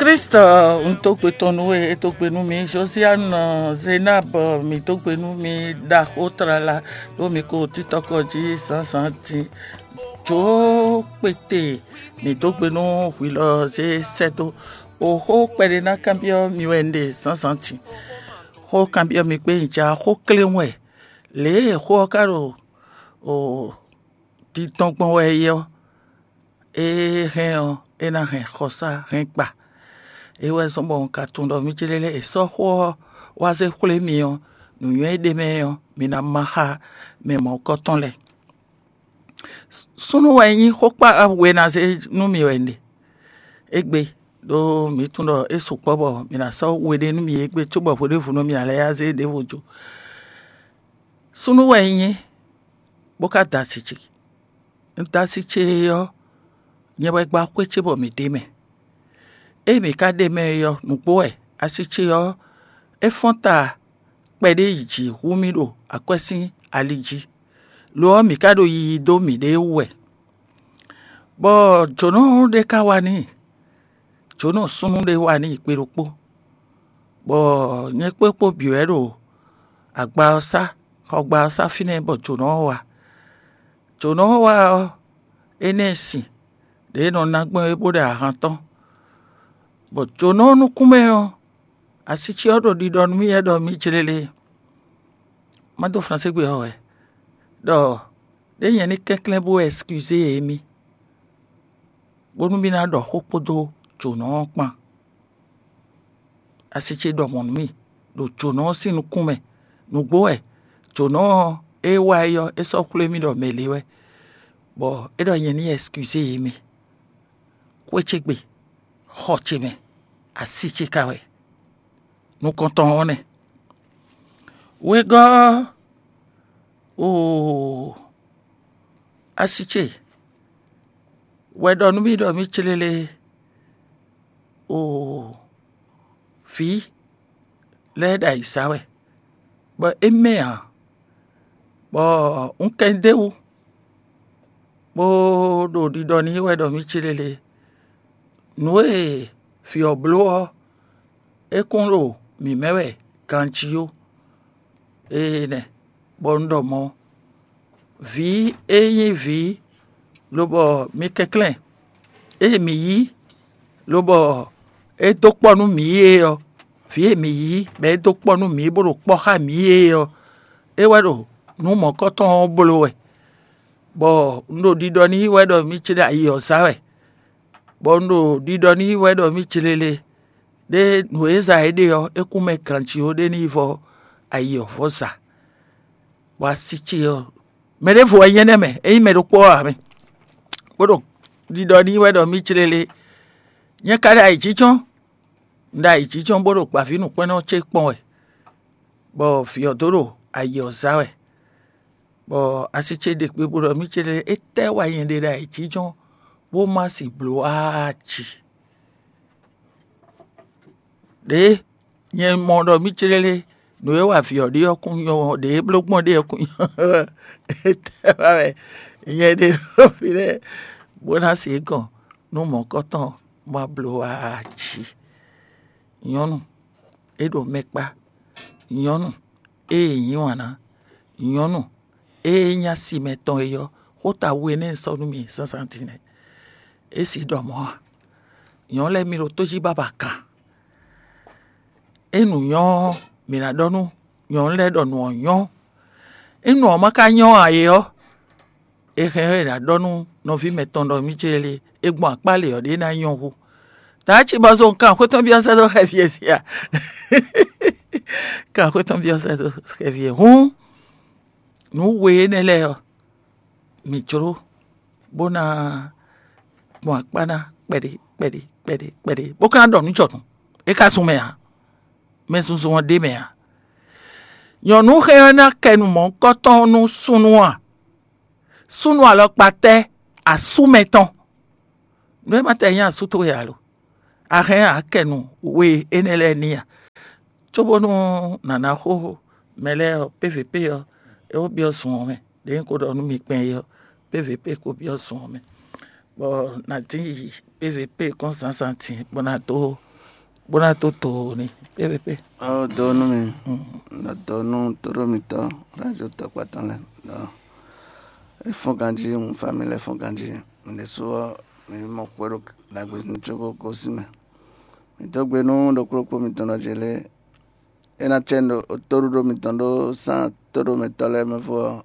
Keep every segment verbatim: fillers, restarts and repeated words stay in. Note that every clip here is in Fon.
Klísu, un dó gbe tɔn nú we, é dó gbe nú mi. Josiane, Zenab, mi dó gbe nú mi. Ɖaxó tlala ɖó mi ko títɔkɔ jí zǎnzǎn din. Jǒkpete, mi dó gbe nú hwi lɔ zé sɛ́ dó. Oxó kpɛɖé ná kanbyɔ́ mi wɛ un ɖe zǎnzǎn din. Xó kanbyɔ́ mi kpé un ja xó kléwún wɛ. Lě e xó ɔ́ ka ɖo o dindɔn gbɔn wɛ é ɔ́, é hɛn ɔ́, é ná hɛn xɔsá hɛn kpa. É wɛ zɔ́n bɔ un ka tunwun ɖɔ mì céɖélé è sɔ́ xó ɔ́ wá zé xwlé mi ɔ́, nǔnywɛ́ e ɖ'é mɛ ɔ́, mi ná má xá mɛ mɔ̌hunkɔtɔn lɛ́ɛ. Súnnu wɛ nyí xókpá we ná zé nú mi wɛ un ɖe. Égbé ɖó mǐ tunwun ɖɔ é sukpɔ́ bɔ mǐ ná sɔ́ we ɖé nú mi égbé cóbɔ hweɖěvunu mǐ ná lɛ́ yá zé ɖěvo jó. Súnnu wɛ un nyí, bó ka da asi ce. Un da asi ce ɔ́, nyɛ wɛ gba xwé ce bɔ mǐ ɖ'é mɛ. Ée mǐ ka ɖ'é mɛ é ɔ́, nǔgbó wɛ; asi ce ɔ́, é fɔ́n ta kpɛɖé yi jǐ hú mì ɖo akwɛ́ sín ali jí; lo ɔ́, mǐ ka ɖo yiyi dó mǐɖée wú wɛ. Bɔ jǒnɔ ɖé ka wá n'i, jǒnɔ súnnu ɖé wá n'i kpe ɖokpó, bɔ nyɛ kpé kpó bǐ wɛ ɖo agba ɔ́ sá, xɔgba ɔ́ sá fínɛ́ bɔ jǒnɔ ɔ́ wá. Jǒnɔ ɔ́ wá ɔ́, énɛ́ sin ɖě è nɔ ná gbɔn é bó ɖe ahan tɔn, bɔ jǒnɔ ɔ́ nukún mɛ ɔ́, asi ce ɔ́ ɖo ɖiɖɔ nú mì wɛ ɖɔ mì jlé lé. Má dó Franségbe ɔ́ wɛ ɖɔ ɖé nyɛ ní kɛnklɛ́n bó ɛskizé émí, bónú mì ná ɖɔ xó kpódó jǒnɔ ɔ́ kpán. Asi ce ɖɔ mɔ̌ nú mì ɖo jǒnɔ ɔ́ sín nukún mɛ. Nǔgbó wɛ jǒnɔ ɔ́, é wá é ɔ́, é sɔ́ xwlé mì ɖɔ mɛ lě wɛ, bɔ é ɖɔ nyɛ ní ɛskizé émí. Xwé ce gbe, xɔ ce mɛ, asi ce ka wɛ. Nukɔntɔn ɔ́ nɛ́. Wegɔ́ ɔ́, oo, asi ce wɛ ɖɔ nú mì ɖɔ mì clélé, oo, vǐ lɛ́ɛ ɖo ayǐ sa wɛ, bɔ é mɛ ǎ, bɔ un kɛ ɖ'é wú, bó ɖo ɖiɖɔ n'i wɛ ɖɔ mì clélé. Nǔ e vǐ ɔ́ bló ɔ́, é kún ɖo mǐ mɛ wɛ ganjí ó. Énɛ́, bɔ un ɖɔ mɔ̌, vǐ e nyí vǐ, lobɔ mi kɛnklɛ́n, ée mǐ yí, lobɔ é dó kpɔ́ nú mǐ é ɔ́, vǐ e mǐ yí, bɔ é dó kpɔ́ nú mǐ, bó ɖo kpɔ́ xá mǐ é ɔ́, é wɛ ɖo nǔ mɔ̌kɔtɔn ɔ́ bló wɛ, bɔ un ɖo ɖiɖɔ n'i wɛ ɖɔ mì ce ɖo ayi ɔ́ zá wɛ, bɔ un ɖo ɖiɖɔ n'i wɛ ɖɔ mì ce lélé, ɖé nǔ e za é ɖe ɔ́, é kún mɛ ganjí ó, ɖé ní yi vɔ ayi ɔ́ vɔ za. Bɔ asi ce ɔ́, mɛ ɖěvo wɛ nyí énɛ́ mɛ, é nyí mɛ ɖokpó ɔ́ ǎ mɛ, bó ɖo ɖiɖɔ n'i wɛ ɖɔ mì ce lélé. Nyɛ ka ɖo ayǐjínjɔ́n, un ɖo ayǐjínjɔ́n bó ɖo gbǎvínǔkpɛ́nnɔ ce kpɔ́n wɛ, bɔ vǐ ɔ́ dó ɖo ayi ɔ́ zá wɛ, bɔ asi ce ɖe kpe bó ɖɔ mì ce lélé, étɛ́ wɛ nyɛ ɖe ɖo ayǐjínjɔ́n bó má si bló aa ci? Ɖěe nyɛ mɔ ɖɔ mì clélé, nǔ e wa vǐ ɔ́ ɖe ɔ́ kún nyɔ́, ɖě e bló gbɔn ɖe ɔ́ kún nyɔ́. Étɛ́ wá wɛ nyɛ ɖe ɖo fínɛ́ bó ná se gɔn nú mɔ̌kɔtɔn ma bló aa jí? Nyɔ̌nu, é ɖo mɛ kpá. Nyɔ̌nu, ée nyí wǎn ná. Nyɔ̌nu, ée nyí asi mɛtɔn é ɔ́, xóta we nɛ́ sɔ́ nú mì zǎnzǎn din nɛ́. É si ɖɔ mɔ̌ a? Nyɔ̌nu lɛ́ɛ mi ɖo tó jí bábà kan. É nǔ nyɔ́ ɔ́, mǐ ná ɖɔ nú nyɔ̌nu lɛ́ɛ ɖɔ nǔ ɔ́ nyɔ́. É nǔ ɔ́ ma ka nyɔ́ ǎ é ɔ́, è hɛn ɔ́ è nǎ ɖɔ nú nɔví mɛtɔn ɖɔ mì céɖélé, è gbɔn akpá lě ɔ́ ɖě ná nyɔ́ hú. Tǎ cí bɔ zɔn kan xwé tɔn byɔ́ sɛ́ dó xɛfí e sia. Kan xwé tɔn byɔ́ sɛ́ dó xɛfí e hǔn. Nǔ we énɛ́ lɛ́ɛ ɔ́, mǐ jló bó ná gbɔn akpá ná kpɛɖé kpɛɖé kpɛɖé kpɛɖé, bó ka ná ɖɔ nǔ jɔnǔ. É ka zun mɛ ǎ. Mɛ zunzun ɔ́ ɖ'é mɛ ǎ. Nyɔ̌nu hɛn ɔ́ ná kɛ nǔ mɔ̌hunkɔtɔn nú súnnu a? Súnnu alɔkpa tɛ́? Asú mɛtɔn. Nǔ e ma tɛ nyí asú towe ǎ lo? A hɛn akɛnu we énɛ́ lɛ́ɛ n'i a? Cóbónú nǎ ná xo mɛ lɛ́ɛ ɔ́, P V P ɔ́, é ko byɔ́ zun ɔ́ mɛ. Ɖě un ko ɖɔ nú mi kpɛn é ɔ́, P V P ko byɔ́ zun ɔ́ mɛ, bɔ nǎ dín yi P V P kɔn zǎnzǎn din bó ná dó bó ná dó do n'i pépépé. Ɔ́, do nú mi, nɔ do nú tóɖó mitɔn, radio tɔkpatɔn lɛ́ɛ. Nɔ é fɔ́n ganjí, un fa mi lɛ́ fɔ́n ganjí. Mi ɖésú ɔ́, mi mɔ xwé ɖo ɖagbe ní có gosín mɛ. Mi dó gbe nú ɖokpóɖokpó mitɔn ɖɔ jě lé, é ná cɛ nú tóɖúɖó mitɔn ɖó sán tóɖó mɛtɔ́ lɛ́ɛ mɛ fó ɔ́,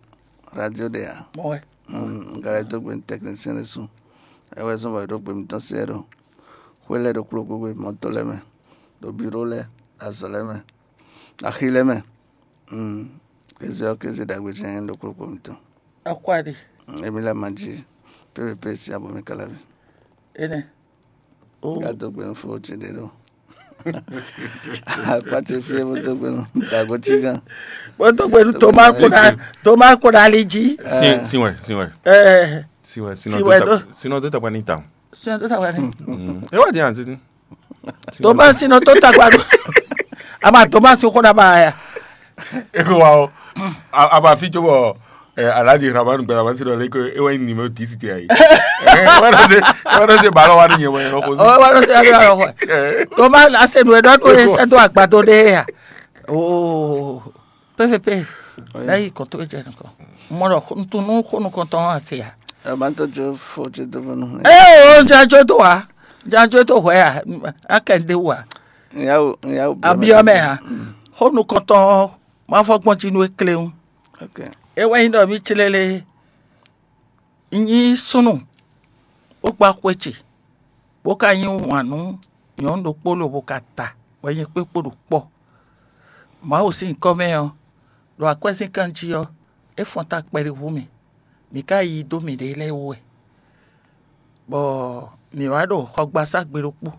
radio ɖe ǎ. Mɔ wɛ. Un ka lɛ́ dó gbe nú tɛknisɛn ɖésú. É wɛ zɔ́n bɔ è ɖó gbe mitɔn se ɛ ɖo xwé lɛ́ɛ ɖokpóɖokpó gbe, mɔ̌to lɛ́ɛ mɛ, ɖo biro lɛ́ɛ, azɔ̌ lɛ́ɛ mɛ, axi lɛ́ɛ mɛ. Kéze ɔ́, kéze ɖagbe jɛ́n ɖokpóɖokpó mitɔn. Akwáɖi. Émi lɛ́ɛ ma jí pépépé sín abɔ mi káláví. Énɛ́. Ó. Ka dó gbe nú fó ce ɖé ɖo. Akpá ce fí é bó dó gbe nú dago cí gán. Bó dó gbe nú Toma kó ná, Toma kó ná ali jí. Sin, sin wɛ, sin wɛ. Ɛ, Sin wɛ, sin wɛ dó ta, sin wɛ dó ta kpa ní ta. Sin wɛ dó ta kpa ní. Mm. E wá di an titi. Tomasi nɔ tó tagba ɖo. Ama Tomasi xó ɖaba ya. Eko wa o. Aba fi tso bɔ Aladi Ramanu gbɛ Ramanu si ɖɔ lé ko e wɛ nyí numéro dix ti ayi. Wɛrɛ se wɛrɛ se balɔ wa ni nyɛ wɛ yɔrɔ ko se. Ɔ wɛrɛ se yɔrɔ yɔrɔ xɔ. Toma ase nu ɛdɔ ko e sɛ do agbado ɖe ya. Oo. P V P. Ɖe yi kɔn to jɛ nukɔn. Mɔ ɖɔ ntu nu xo nukɔntɔn ase ya. Ɛ ma tɔ jo fo ti do bɔ nu. Ee o ja jo to wa. Ja jo to hwɛ ya. Akɛ de wa. Nyawo nyawo. Abiyɔ mɛ ya. Xo nukɔntɔn ma fɔ gbɔn ti nu ekle ŋu. Ok. E wɛ nyi ɖɔ mi tslele. Nyí súnnu, bó gbá xwé ce, bó ka yí wǎn nú nyɔ̌nu ɖokpó lobo ka ta bɔ nyɛ kpé kpo ɖo kpɔ́. Mawu sín nyǐkɔ mɛ ɔ́, ɖo akwɛ́zínkan jí ɔ́, é fɔ́n ta kpɛɖé hú mì. Mǐ ka yí dó mǐɖée lɛ́ɛ wú wɛ, bɔ mǐ wá ɖo xɔgbasá gbe ɖokpó,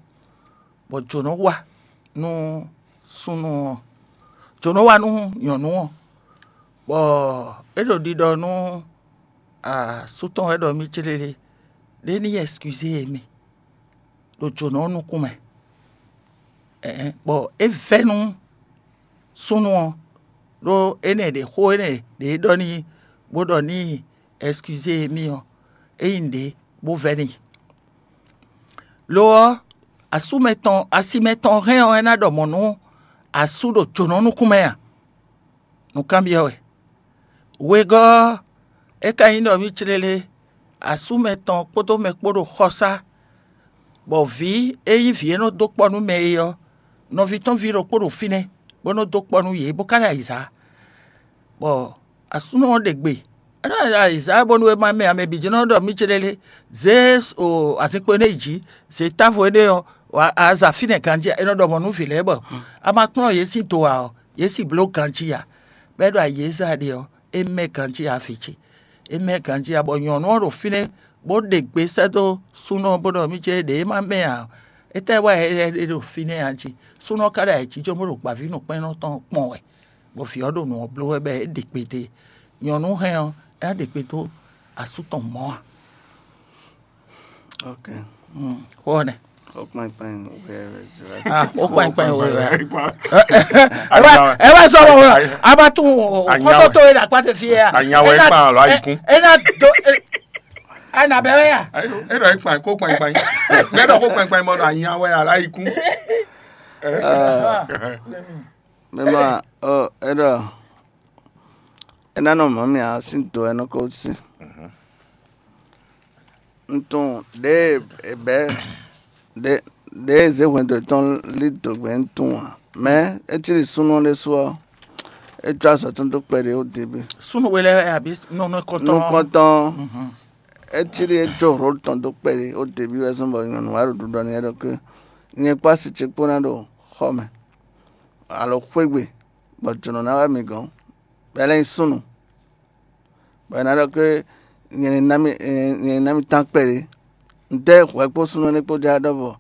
bɔ jǒnɔ wa nú súnnu ɔ́, jǒnɔ wa nú nyɔ̌nu ɔ́, bɔ é ɖo ɖiɖɔ nú asú tɔn wɛ ɖɔ mì céɖéɖé, ɖé ní yi ɛskizé mì ɖo jǒnɔ ɔ́ nukún mɛ. Ɛ̌n, bɔ é vɛ́ nú súnnu ɔ́, ɖó énɛ́ ɖě xó énɛ́ ɖě ɖɔ n'i bó ɖɔ ní yi ɛskizé mì ɔ́, é nyí nǔɖé bó vɛ́ n'i. Lo ɔ́, asú mɛtɔn, asi mɛtɔn hɛn ɔ́, é ná ɖɔ mɔ̌ nú asú ɖo jǒnɔ nukún mɛ a? Nǔkanbyɔ́ wɛ. Wegɔ́ ɔ́, é ka nyí ɖɔ mì cléle, asú mɛtɔn kpódó mɛ kpó ɖo xɔsá, bɔ vǐ e nyí vǐ e nɔ dó kpɔ́ nú mɛ é ɔ́, nɔví tɔn ví ɖokpó ɖo fínɛ́, bó nɔ dó kpɔ́ nú yě, bó ka ɖo ayǐzá. Bɔ asúnɔ ɔ́ ɖe gbe, é nɔ ɖo ayǐzá bónú é má mɛ ǎ, mɛ bǐ jɛ́n nɔ ɖɔ mì céɖéɖé, zě azinkpo énɛ́ yi jǐ, zě távo énɛ́ ɔ́, aza fínɛ́ ganjí, é nɔ ɖɔ mɔ̌ nú vǐ lɛ́ɛ bɔ a ma kplɔ́n yě sín do ǎ ɔ́, yě sì bló ganjí ǎ. Bɔ é ɖo ayǐ e zɛ a ɖe ɔ́, é mɛ ganjí ǎ vǐ ce. É mɛ ganjí ǎ, bɔ nyɔ̌nu ɔ́ ɖo fínɛ́ bó ɖe gbe sɛ́ dó súnɔ ɔ́ bó ɖɔ mì céɖéɖé é má mɛ ǎ. Étɛ́ wá ɛ é ɖo fínɛ́ a jí? Súnɔ ɔ́ ka ɖo ayǐjínjɔ́n bó ɖo gbǎvínǔkpɛ́nnɔ tɔn kpɔn wɛ. Bɔ vǐ ɔ́ ɖo nǔ ɔ́ bló wɛ bɔ é ɖe gbe dó e. Nyɔ̌nu hɛn ɔ́, é ná ɖe gbe dó asú tɔn mɔ̌ a? Ok. Xó ɔ́ nɛ́. Xó kpɛnkpɛn wɛ wɛ zɛ. Ah, xó kpɛnkpɛn wɛ wɛ. Ɛ wá ɛ wá sɔ̀rọ̀ wɛ. A ma tún xɔtɔ tó yẹ ɖàkpá tɛ fi yɛ. Anyawɛ kpan lɔ ayikun. É ná do. A nà bɛ wɛ ya. E ɖɔ kpan kó kpɛnkpɛn. Mɛ ɖɔ kó kpɛnkpɛn mɔ ɖɔ anyawɛ alɔ ayikun. Mɛ ma ɔ e ɖɔ é ná nɔ mɔ̌ mì ǎ sín do wɛ é nɔ ko sin. Un tunwun ɖěe è bɛ̌ ɖě ɖě e zě hwɛndo yětɔn lí dǒ gbɛ́ un tunwun ǎ. Mɛ̌ é cí ɖi súnnu ɔ́ ɖésú ɔ́, é có azɔ̌ tɔn dó kpɛɖé ó debí. Súnnu we lɛ́ɛ wɛ abǐ nɔnɔ kɔntɔn. Nukɔntɔn ɔ́, é cí ɖi é có hlǒ tɔn dó kpɛɖé ó debí wɛ zɔ́n bɔ nyɔ̌nu wá ɖo ɖiɖɔ n'i wɛ ɖɔ ké nyɛ kpó asi ce kpó ná ɖo xɔ mɛ alo xwé gbe, bɔ jǒnɔ ná wá mì gɔ̌n, bɔ é lɛ́ nyí súnnu. Bɔ è nǎ ɖɔ ké nyɛ ní ná mì nyɛ ní ná mì tán kpɛɖé. Un dɛ́ hwɛ kpó súnnu énɛ́ kpó já ɖɔ́vɔ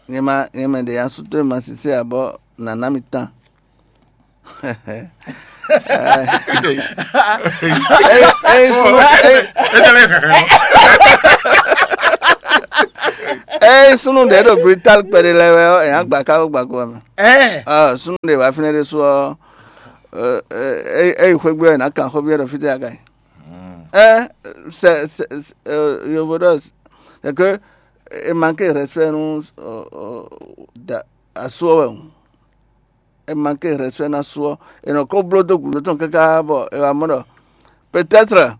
nyɛ ma nyɛ mɛ ɖě nya sú towe ma sísé ǎ bɔ nǎ ná mì tán. Eye súnnu eye eye súnnu ɖě ɖo Brital kpɛɖé lɛ́ɛ wɛ ɔ́, è nǎ gba ká bó gba go ɔ́ mɛ. Ɛ Ɔ, súnnu ɖě wá fínɛ́ ɖésú ɔ́, ɛ, ɛ, ɛ, ɛ yi xwé gbe ɔ́, è nǎ kan xó byɔ́ ɖɔ fítɛ́ a ka yi. Ɛ, sɛ, sɛ, sɛ, ɛ, yovo ɖɔ, c'est que e manque respect nú, ɔ, ɔ, da, Asú ɔ́ wɛ hǔn, é manqué respect ná asú ɔ́. È nɔ ko bló dó gǔdo tɔn káká bɔ è wá mɔ ɖɔ peut-être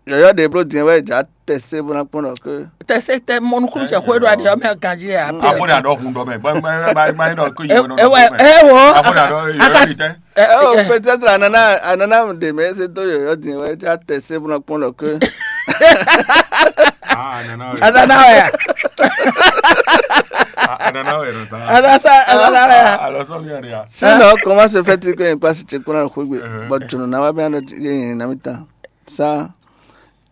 yɔ̌yɔ́ ɖě bló din wɛ è jǎ tɛsé bó ná kpɔ́n ɖɔ ké. Tɛsé tɛ mɔ nukúnnú ce xwé ɖo aɖi ɔ́ mɛ ganjí ɛ. Afɔ ɖe aɖɔ hun dɔ mɛ gbɛgbɛ gbɛgbɛ ɖɔ ko yi wɛ nɔ ɛ wɔ. Afɔ ɖe aɖɔ yɔ yi tɛ. Oh, peut-être anana anana ɖe mɛ se dó yɔ̌yɔ́ din wɛ é jǎ tɛsé bó ná kpɔ́n ɖɔ ké. Ah, anana wɛ. Anana wɛ ya. Ah, anana wɛ nɔ ta. Anasa anana wɛ ya. Alors ça vient rien. Sinon, comment se fait-il que une place se kpɔ́n ɖɔ xwé gbe? Bɔ tunu na wa bɛ anɔ yɛ yɛ na mi ta. Sa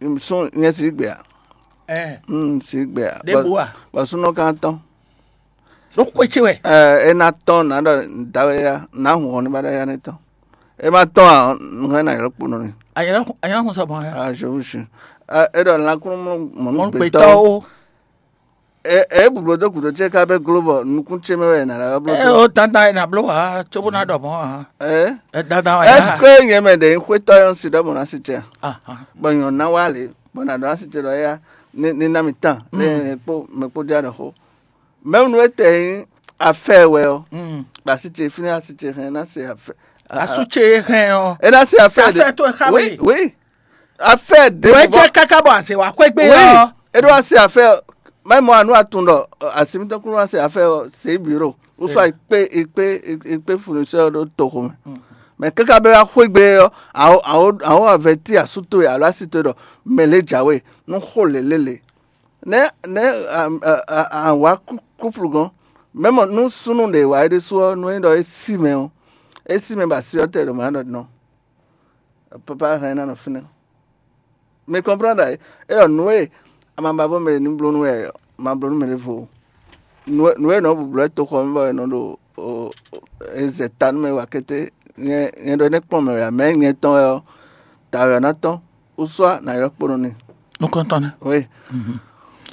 sún nyɛ sí gbé a? Ɛ Mm, sí gbé a? Ɖěbǔ a? Bɔ súnɔ kan tɔn. Ɖó xwé ce wɛ. Ɛ é ná tɔn nǎ ɖɔ dǎwe ya nǎ hun hɔn ní ba ɖɔ ya ní tɔn. É má tɔn a, nǔ hɛn ná ylɔ́ kpo nɔ ni. Anyɛ́nɛ́ anyɛ́nɛ́ hun sɔ mɔ̌ hɛn. Ah, je vous jure. Ɛ é ɖɔ lankúnú mɔ Mɔ̌ nú gbětɔ́ gbětɔ́ ó. Ɛ é bublo dó gǔdo ce ká bɛ gló bɔ nukún ce mɛ wɛ è nǎ lɛ́ wá bló Ɛ dó. Ó dandan è nǎ bló wǎ cóbó ná ɖɔ mɔ̌ ǎ. Ɛ Ɛ dandan wɛ est-ce ná. Que nyɛ mɛ ɖě nyí xwétɔ́ yɔ́n si ɖɔ mɔ̌ ná sí ce a? Ah, ah. Bɔ nyɔ̌ ná wá lě bɔ nǎ ɖɔ ná sí ce ɖɔ éyá ní ní ná mi tán lé Mm. mɛ kpó mɛ kpó dí aɖɔ xó. Mɛ̌ nú é tɛ nyí afɛ́ wɛ ɔ́, Mm. ɖo así ce fínɛ́ así ce hɛn ná se afɛ́. A- a- Asú ce e hɛn ɔ́. É ná se Sɛ afɛ́ afɛ́ towe xá oui, we. Oui. Afɛ́ ɖě Wɛ bɔ- jẹ́ káká bɔ àzè wá xwé gbé Oui. Ɔ́. É ɖó wá se afɛ́. Mɛ mɔ anu atun ɖɔ asi mitɔn kún wá se afɛ́ ɔ́ se biro. Ou soit ikpe ikpe ikpe fournisseur ɖo toxo mɛ. Mm. Mɛ káká bɛ wá xwé gbé ɔ́, awo awo awo avɛti asú towe alo asi towe ɖɔ mɛ lě jǎwe nú xó lě lélě. Nɛ̌ nɛ̌ a- a- a- a wǎ kú- kúplu gɔ́n? Mɛ̌ mɔ nú súnnu ɖě wá é ɖésú ɔ́, nú é nyí ɖɔ é sí mɛ ɔ́, é sí mɛ bɔ asi ɔ́ tɛ ɖo mǎ ɖɔ nɔ. Papa hɛn ná nɔ fínɛ́. Mi kɔnplán ɖa é ɖɔ nǔ e a ma ba bɔ mɛ ní bló nú wɛ ɔ́, ma bló nú mɛ ɖěvo. Nǔ e nǔ e nɔ bu bló toxɔ mɛ bɔ è nɔ ɖo o- o- e zɛ ta nú mɛ wa kété, nyɛ nyɛ ɖɔ é nɛ́ kplɔ́n mɛ wɛ ǎ, mɛ nyɛ tɔn wɛ ɔ́, ta wɛ ɔ́ ná tɔ́n, ou soit nǎ ylɔ́ kpo nɔ n'i. Nukɔntɔn nɛ. Oui. Mhm.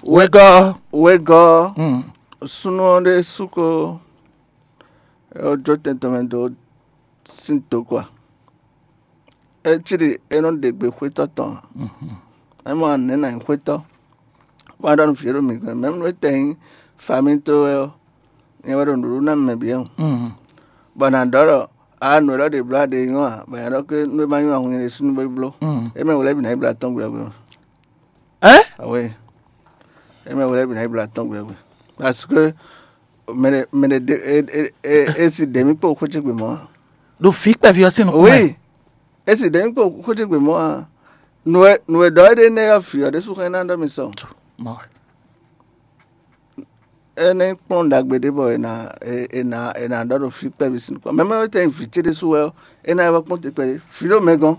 Wegɔ́. Wegɔ́. Mhm. Súnnu ɔ́ ɖésú ko é wó jó tɛn tɔn mɛ dó sín dǒ kɔ a? É cí ɖi é nɔ ɖe gbe xwétɔ́ tɔn ǎ. Mhm. É mɔ anɛ̌ nǎ nyí xwétɔ́, bó wá ɖɔ nú vǐ e ɖo mǐ gɔ́n mɛ̌ nú é tɛ nyí famíto wɛ ɔ́, nyɛ wɛ ɖo nǔɖuɖu ná mɛ bǐ ɔ́. Mhm. Bɔ nǎ ɖɔ ɖɔ a nǔ élɔ́ ɖě bló a ɖě nyɔ́ a, bɔ nyɛ ɖɔ ké nú é ma nyɔ́ a hun nyɛ ɖésú nú bó yi bló. Mhm. É mɛ wlɛ́ bǐ ná yi bló atɔ́n gbe ɔ́ gbe mɛ. Ɛ? Awe. É mɛ wlɛ́ bǐ ná yi bló atɔ́n gbe ɔ́ gbe. Parce que mɛ ɖe mɛ ɖe ɖe e e e e si ɖě mí kpó xwé ce gbe mɔ̌ a. Ɖo vǐ kpɛví ɔ́ sín nukún mɛ. Oui. É si ɖě mí kpó xwé ce gbe mɔ̌ a. Nǔ e nǔ e ɖɔ é ɖe nɛ́ ɔ́ vǐ ɔ́ ɖésú xɛn ná ɖɔ mi sɔ. Mɔ. É nɛ́ kplɔ́n ɖagbe ɖé bɔ è nǎ è è nǎ è nǎ ɖɔ ɖo fí kpɛví sín nukún. Mɛ mɛ tɛ́ nyí vǐ ce ɖésú wɛ ɔ́, é ná yi wá kpɔ́n te kpɛví. Vǐ ɖo mɛ gɔ́n.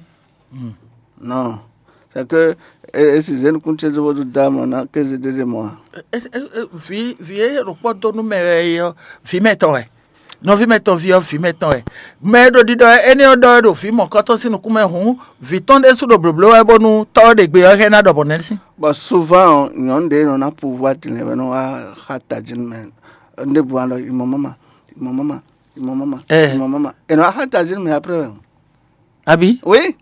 Hmm. Non. C'est que é é si zé nukún ce dó bó dó dá mɔ ná kéze ɖé ɖe mɔ a. Ɛ- ɛ- ɛ- ɛ- vǐ vǐ e ɖo kpɔ́ dó nú mɛ wɛ é ɔ́, vǐ mɛtɔn wɛ. Nɔví mɛtɔn ví ɔ́, vǐ mɛtɔn wɛ. Mɛ e ɖo ɖiɖɔ wɛ énɛ́ ɔ́ ɖɔ wɛ ɖo vǐ mɔ̌kɔtɔn sín nukún mɛ hǔn, vǐ tɔn ɖésú ɖo blǒbló wɛ bónú tɔ́ ɔ́ ɖe gbe ɔ́ hɛn ná ɖɔ bɔ nɛ́ sín. Bɔ souvent ɔ́, nyɔ̌nu ɖě nɔ ná pouvoir din lɛ́ɛ wɛ nɔ wá xá tají nú mɛ. Ɖěbǔ wá ɖɔ imɔ mama, imɔ mama, imɔ mama, Ɛ. Imɔ mama. È nɔ wá xá tají nú mɛ après wɛ. Abi? Oui.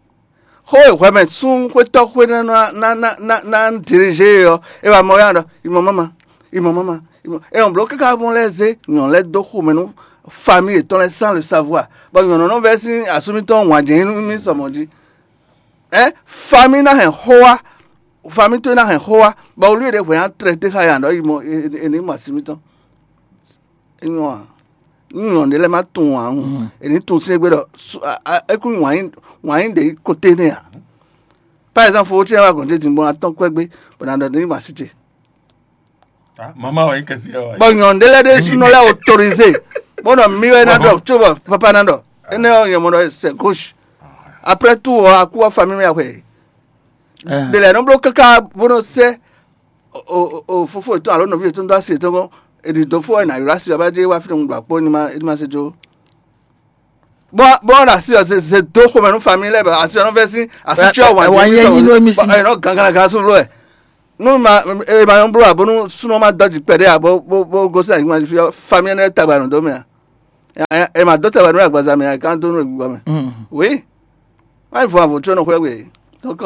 Xó e hwɛ mɛ sún xwétɔ́ xwé ná ná ná ná ná dirigé e ɔ́, é wá mɔ yá ɖɔ imɔ mama, imɔ mama, imɔ. É ɔn bló káká mɔ lɛ́ɛ zé nyɔ̌nu lɛ́ɛ dó xomɛ nú famille yětɔn lɛ́ɛ sans le savoir. Bɔ nyɔ̌nu nɔ vɛ́ sín asú mítɔn wǎn jɛ́n nú mì sɔ mɔ̌ jí. Ɛ famille ná hɛn xó wá, famille towe ná hɛn xó wá, bɔ wlú e ɖě hwɛ ná traité xá yǎ ɖɔ yi mɔ è ní mɔ así mítɔn. É nyɔ́ ǎ. Nú nyɔ̌nu ɖé lɛ́ɛ má tunwun ǎ hǔn, è ní tunwun sín égbé ɖɔ é kún wǎn yí ɖě yi koté nɛ́ ǎ. Par exemple, fofó ce wá gɔ̌n ce din bɔ atɔ́n kwɛ́ gbé bɔ ná ɖɔ ní ma sí ce. Mama wɛ nyí kɛsi ɛ wa. Bɔ nyɔ̌nu ɖé lɛ́ɛ ɖésúnɔ lɛ́ɛ autorisé bó nɔ mí wɛ ná ɖɔ tso bɔ papa ná ɖɔ énɛ́ ɔ́ nyɛ mɔ ɖɔ c'est gauche. Après tout ɔ́ akú ɔ́ famille mɛ axwɛ. Ɖe lɛ́ɛ nɔ bló káká bó nɔ sɛ́ o o o fofó yětɔn alo nɔví yětɔn dó asi yětɔn gɔ́n, è ɖi dǒ fó wɛ è nǎ ylɔ́ asi ɔ́ bá jɛ wá fínɛ́ ɖo akpó ní ma é ní ma se jó. Bɔ bɔ ɖo asi ɔ́ zeze dó xomɛ nú famille lɛ́ɛ bɔ asi ɔ́ nɔ vɛ́ sín asi Ɛ, cyɔ ɛ, wǎn wǎn yɛ nyi nú émí sín. Ɛ nɔ gangan gangan sú bló wɛ. Nú ma e ma nyɔ́ bló abo nú súnɔ ma dɔ́ jǐ kpɛɖé abo bó bó gosín anyigba jí fí ɔ́, famille ɛnɛ́ tagba nɔ dó mɛ a. Ɛ ɛ ma dó tagba nú agbaza mɛ a, é ká dó nú gbígbɔ mɛ. Mm. Oui. Má nyí fɔ avɔ tso nɔ xwlɛ́ gbe. Donc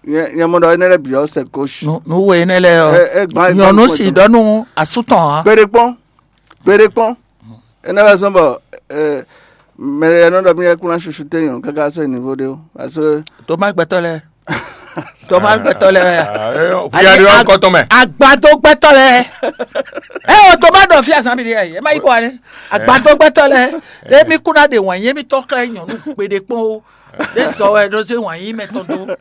nyɛ nyɛ mɔ ɖɔ énɛ́ lɛ́ɛ bǐ ɔ́ c'est gauche. Nu nu we énɛ́ lɛ́ɛ ɔ́. Ɛ ɛ gbã Nyɔ̌nu si ɖɔ nú asú tɔn ǎ. Kpeɖe kpɔ́n. Gbeɖé kpɔ́n. Énɛ́ wɛ zɔ́n bɔ mɛ e nɔ ɖɔ mì wɛ kún ná susu tɛ́nyɔ káká sɔ́ nyi nívo ɖé ó. Parce que Toma gbɛtɔ́ lɛ́ɛ. Toma gbɛtɔ́ lɛ́ɛ wɛ. Huya ɖe ɔ́ kɔtɔn mɛ. Agbadó gbɛtɔ́ lɛ́ɛ. Ɛ o Toma ɖɔ fí azán mi ɖe ɛ ma yi bɔ wani. Agbadó gbɛtɔ́ lɛ́ɛ. Ɖé mi kún ná ɖe wǎn yé mi tɔ́ xlɛ́ nyɔ̌nu gbeɖé kpɔ́n ó. Ɖé zɔ wɛ ɖó zé wǎn yí mɛ tɔn dó.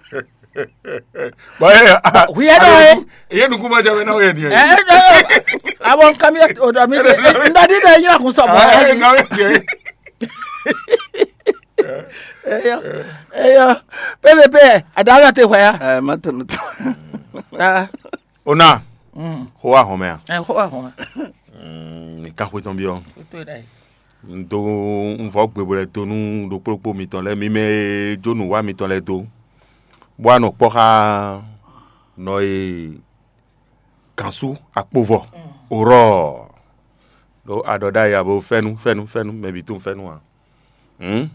Bɔn ye Hu yɛ ɖɔ ye. Ye nukun ma jɛ mɛ na ye diɛ. Ɛ ɛ ɛ. Awɔ nka mi o dɔ mi de. N dɔ di de yina kun sɔ mɔ. Ɛ ɛ nka ye diɛ. Eyɔ eyɔ. Pépépé. Aɖaŋa te hwɛ ya. Ɛ ma tɛmɛ tɔ. Aa. O na. Mm. Xó wa hɔn mɛ a? Ɛ xó wa hɔn mɛ. Mm, nìkan xwe tɔn bi ɔ. Tó yẹ dɛ. Un dó un vɔ gbe bó lɛ dó nú ɖokplɔ́kpó mitɔn lɛ́ɛ, mi mɛ e jó nǔ wa mitɔn lɛ́ɛ dó, bó wá nɔ kpɔ́ xá nɔ e gǎnsú akpovɔ, orɔ́ɔ, ɖó aɖɔ ɖ'ayǐ abo fɛ́nú fɛ́nú fɛ́nú mɛ bǐ tunwun fɛ́nú ǎ. Hǔn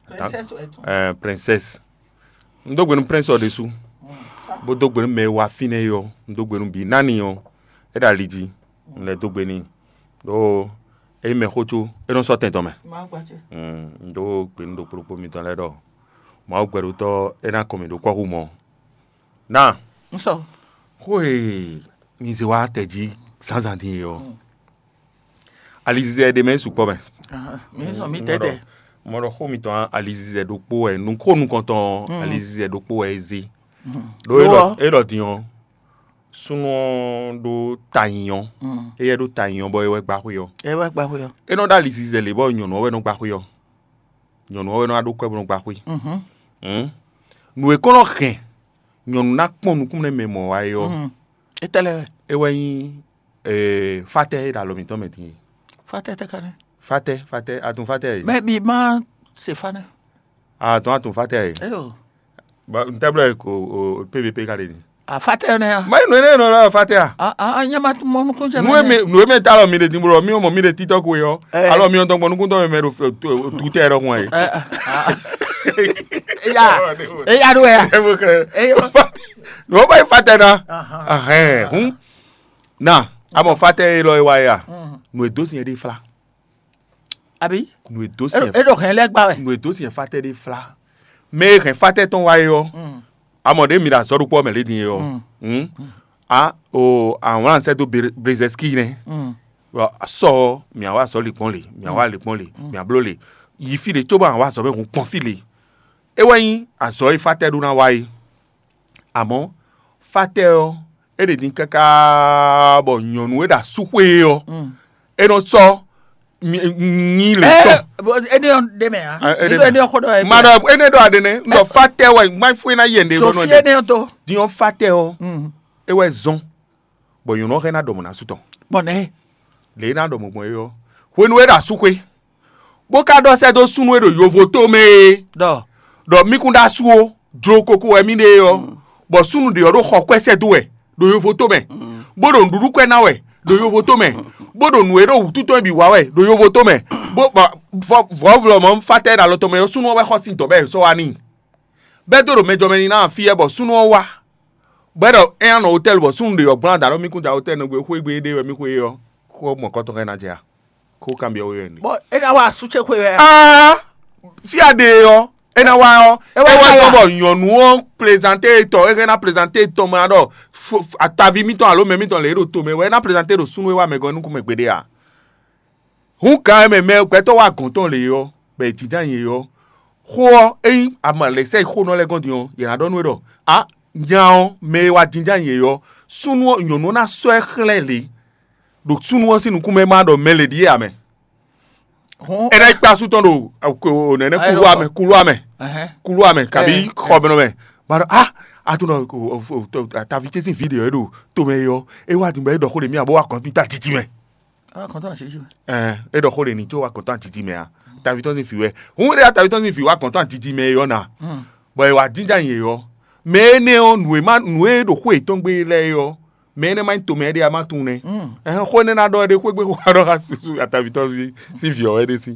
Princesse wɛ tɔn. Ɛɛ princesse. Un dó gbe nú prince ɔ́ ɖésú, bó dó gbe nú mɛ e wá fínɛ́ é ɔ́, un dó gbe nú bǐ. Nani ɔ́, é ɖo ali jí, un lɛ́ dó gbe n'i. Ɖó é nyí mɛxó có, é nɔ sɔ́ tɛn tɔn mɛ. Má gba ce. Un dó gbe nú ɖokpó ɖokpó mitɔn lɛ́ɛ ɖɔ Mawu gbɛɖótɔ́ é ná kɔn mǐ ɖó kɔ́xo mɔ. Ná Un sɔ. Xó e mi zé wá tɛ jí zǎnzǎn din é ɔ́, alizizɛ ɖé mɛ é sukpɔ́ mɛ. Ahan, mi zɔn mi tɛtɛ. Mɔ ɖɔ xó mitɔn alizizɛ ɖokpó wɛ, nǔ xó nukɔntɔn ɔ́, alizizɛ ɖokpó wɛ é zé. Ɖó é ɖɔ é ɖɔ din ɔ́, súnnu ɔ́ ɖó ta nyɔ. Éyɛ́ ɖó ta nyɔ bɔ é wɛ gbá xwé ɔ́. É wɛ gba xwé ɔ́. É nɔ ɖó alizizɛ lě bɔ nyɔ̌nu ɔ́ wɛ nɔ gbá xwé ɔ́. Nyɔ̌nu ɔ́ wɛ nɔ wá ɖó kwɛ́ bó nɔ gbá xwé. Mhm. Hǔn, nǔ e kɔn nɔ hɛn nyɔ̌nu ná kpɔn nukún nɛ́ mɛ mɔ̌ wá é ɔ́, Mm. Étɛ́ lɛ́ɛ wɛ. É wɛ nyí ee, fátɛ́ e ɖo alɔ mǐtɔn mɛ din é. Fátɛ́ tɛ́ ka nɛ́. Fátɛ́, fátɛ́, atun fátɛ́ e. Mɛ bi má se fa nɛ́. Atun atun fátɛ́ e. Eyo. Ba ntɛ́blɔ e ko o P V P ka ɖe ni. A fátɛ́ nɛ́ a. Má yi nǔ énɛ́ nɔ lɔ fátɛ́ a. A a a nyɛ ma mɔ nukún jɛ Nú mɛ. Emi nǔ eme ta alɔ mi ɖe din blo mi mɔ mi ɖe títɔ ko e ɔ. Ɛ. Alɔ mi ɔn tɔn gbɔ nukún tɔn mɛ ɖo tutɛ ɖɔ hun ɛ. Ɛ, a, a. Eya eya ɖo ya. Ebo kɛ. Eyo. Ló bá yi fátɛ́ ná. Ahan. Ahɛn hun. Na amɔ fátɛ́ e lɔ e wa ya. Mm. Nǔ e dó sin e ɖe fla. Abi. Nǔ e dó sin E ɖo hɛn lɛ gba wɛ. Nǔ e dó sin fátɛ́ ɖe fla. Mɛ e hɛn fátɛ́ tɔn wa e ɔ. Mm. Amɔ ɖe mi ɖo azɔ̌ ɖokpó mɛ lé din e ɔ. Mm. Hmm? A o awlán sɛ dó Brezɛski nɛ. Mm. Sɔ mìa wá azɔ̌ lǐkpɔ́n lě, mìa wá lǐkpɔ́n lě, mìa bló lě. Yi fí lě cóbɔ awǎ azɔ̌ mɛ hun kpɔ́n fí lě. É wɛ nyí azɔ̌ e fátɛ́ ɖó ná wa é. Amɔ̌, fátɛ́ ɔ́, é ɖe din káká bɔ nyɔ̌nu e ɖo asúxwé é ɔ́, Mm. é nɔ sɔ́ nyi lě tɔn. Ene ɔ́ ɖe mɛ a? Ah, ene Nígbà mɛ. Ene ɔ́ xɔ ɖɔ ɛ. Ma ɖɔ ene ɖɔ aɖe nɛ, n ɖɔ fátɛ́ wɛ, má fún ena yɛ ɖe Tso bɔ nɔ fi ɖe. Ene ɔ́ to. Diɔ fátɛ́ ɔ́, Mm. é wɛ zɔn, bɔ nyɔ̌nu ɔ́ hɛn ná ɖɔ mɔ̌ ná sú tɔn. Bɔn nɛ Lě e ná ɖɔ mɔ̌ gbɔn é ɔ́, hwenu e é ɖo asúxwé, bó ka ɖɔ sɛ́ dó súnnu e ɖo yovo tó mɛ é, ɖɔ ɖɔ mí kún ɖó asú ó, jló kókó wɛ mí ɖe é ɔ́, bɔ súnnu ɖě ɔ́ ɖo xɔ kwɛ́ sɛ́ dó wɛ ɖo yovo tó mɛ, bó ɖo nǔɖuɖu kwɛ́ ná wɛ ɖo yovo tó mɛ, bó ɖo nǔ e ɖo wǔtu tɔn bǐ wa wɛ ɖo yovo tó mɛ, bó bɔ vɔvlɔ mɔ̌ fátɛ́ ɖo alɔ tɔn mɛ ɔ́, súnnu ɔ́ wɛ xɔ sín dɔ̌ bɔ è sɔ́ wá n'i. Bɛ́ dó ɖo mɛ jɔ mɛ ní ná fí ɛ bɔ súnnu ɔ́ wá. Bɔ é ɖɔ é nya nɔ hotɛ́li bɔ súnnu ɖě ɔ́ gblɔ́n adǎ ɖɔ mí kún da hotɛ́li nɛgbé xwé gbe éɖée wɛ mí xwe é ɔ́, xó mɔ̌kɔtɔn ka ná jɛ a? Xó kanbyɔ́ we wɛ n'i. Bɔ é ná wá asú ce xwe wɛ. Aa, fí a ɖe é ɔ́, é ná wá ɔ́, É wá é wá káyà. Tɔ́n bɔ nyɔ̌nu ɔ́ plezanté tɔn, é hɛn ná plezanté tɔn mɛ ɖɔ ataví mítɔn alo mɛ mítɔn lě e ɖo to mɛ wɛ é ná plezanté ɖo súnnu e wá mɛ gɔ́ nukún mɛ gbeɖé a? Hǔn gǎn e mɛ mɛ gbɛtɔ́ wa gɔ̌n tɔn lě ɔ́, bɔ è jínjɔ́n ayǐ é ɔ́, xó ɔ́, ényí a ma lɛ̌ sɛ́ yi xó nɔ lɛ́ɛ gɔ́n din ɔ́, yě ná ɖɔ nú we ɖɔ: "Á, nya ɔ́, mɛ e wá jínjɔ́n ayǐ é ɔ́, súnnu ɔ́, nyɔ̌nu ɔ́ ná sɔ́ ɛ xlɛ́ lě, ɖo súnnu ɔ́ sín nukún mɛ ma ɖɔ mɛ lě ɖíe ǎ mɛ." Hǔn É ná yi kpé asú tɔn ɖo nɛ̌nɛ́ Ayi, kuluwá mɛ, kuluwá mɛ, Ɛhɛn. Kuluwá mɛ, kabí Ɛ, xɔ mɛ nɔ mɛ. Ma ɖɔ: "Á, a tunɔ taví ce sín vǐ ɖě ɔ́ é ɖo tomɛ é ɔ́, é wá din bɔ é ɖɔ xó ɖě mì abo wá kɔn fí ta títí mɛ." Á kɔn tó àṣírí mɛ. Ɛɛ, é ɖɔ xó ɖě ní có wá kɔn tó àtítí mɛ a? Taví tɔn sín vǐ wɛ. Hǔn é ɖe taví tɔn sín vǐ wá kɔn tó àtítí mɛ é ɔ́ na. Bɔ è wá jínjɔ́n ayǐ é ɔ́, mɛ énɛ́ ɔ́, nǔ e má nǔ e ɖo xó yětɔn gbe lɛ́ɛ é ɔ́, mɛ énɛ́ má nyí tomɛ ɖé a má tunwun nɛ́. Ɛhɛn, xó énɛ́ ná ɖɔ é ɖe xwé gbe xó ná ɖɔ xá susu ataví tɔn sín vǐ ɔ́ wɛ ɖé sí.